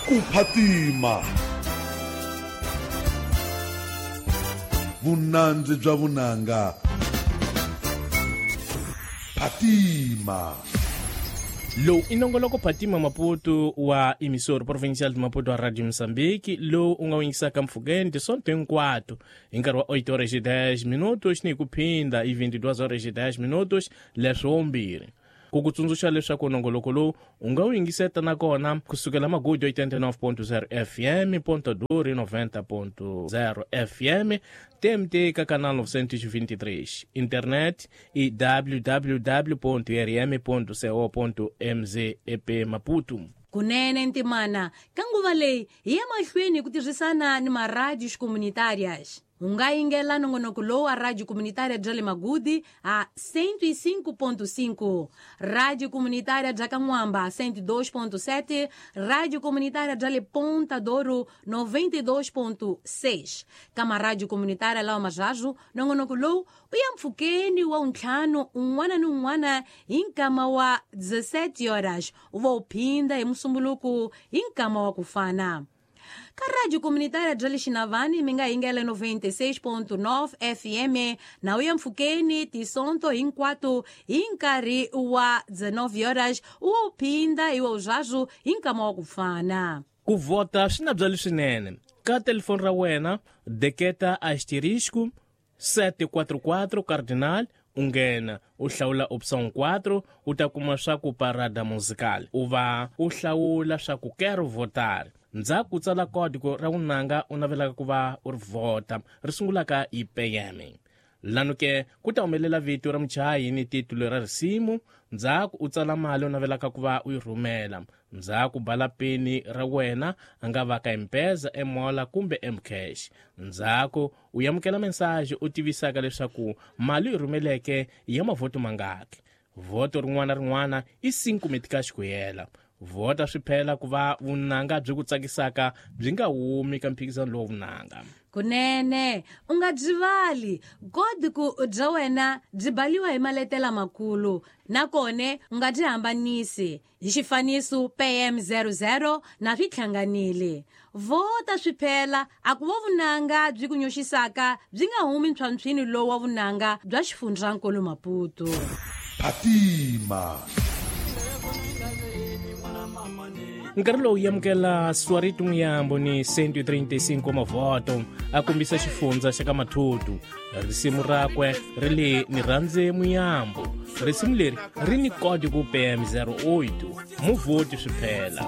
Ku phatima vunandzi bya vunanga. Phatima. Lowu i nongoloko Phatima Maputo wa emissora provincial de Maputo wa Radio Moçambique, lowu u nga wu yingisaka mpfhukeni tisonto hinkwato hi nkarhi wa 8 horas e 10 minutos ni hi ku phinda hi 22 horas e 10 minutos leswo mbirhi. Ku ku tsundzuxa leswaku nongoloko lowu u nga wu yingiseta nakona kusukela Magudu 89.0 FM, Ponta Duro 90.0 FM, TMT ka canal 923, internet i www.rm.co.mz ep Maputo. Kunene ntimana, ka nguva leyi hi ya mahlweni hi ku tirhisana ni maradios comunitárias. U nga yingela nongonoko lowu wa Radio Comunitária bya le Magudi a 105.5, Radio Comunitária bya ka N'wamba 102.7, Radio Comunitária bya le Ponta Douro 92.6. Ka maradio comunitária lawa mazhazu, nongonoko lowu u ya mpfhukeni wa ntlhanu un'wana ni un'wana hi nkama wa 17 horas, u va u phinda hi musumbuluku hi nkama wa ku fana. Ka Radio Comunitária bya le Xinavani mi nga yingela 96.9 FM na u ya mpfhukeni tisonto hinkwato hi nkarhi wa 19 horas, u wa u phinda hi wa zwazu hi nkama wa ku fana. Ku vhota swi na byali swinene. Ka telefoni ra wena deketa asterisco 744 cardinal, u nghena u hlawula option 4, u ta kuma swa ku parada musical, u va u hlawula swa ku quero votar. Ndzhaku u tsala código ra vunanga u navelaka ku va u ri vhota, ri sungulaka hi PM. Lano ke ku ta humelela vito ra muchayi ni titulo ra risimu, ndzhaku u tsala mali u navelaka ku va u yi rhumela. Ndzhaku bala peni ra wena, a nga va ka M-Pesa, M-Mola kumbe M-Cash. Ndzhaku u amukela mensajhe u tivisaka leswaku mali u yi rhumeleke ya mavhoto mangaki. Vhoto rin'wana rin'wana i 5 metikaxi ku hela. Vhota swi phela ku va vunanga byi ku tsakisaka byi nga humi ka mphikizano lowu vunanga. Kunene u nga byivali godi ku bya wena byi baliwa hi maletela makulu, nakone u nga byi hambanisi hi xifaniso PM00 na swi hlanganile. Vhota swi phela a ku va vunanga byi ku nyoxisaka byi nga humi ntlhwantlhwini lowu wa vunanga bya xifundzankulu Maputo. Phatima. Nkarhi lowu yamukela Swariti Muyambo ni 135 mavhoto a kombisa xifundza xa ka Mathutu. Risimu rakwe ri le ni rhandze Muyambo. Risimu leri ri ni kodi ku PM08. Muvhoti swi phela.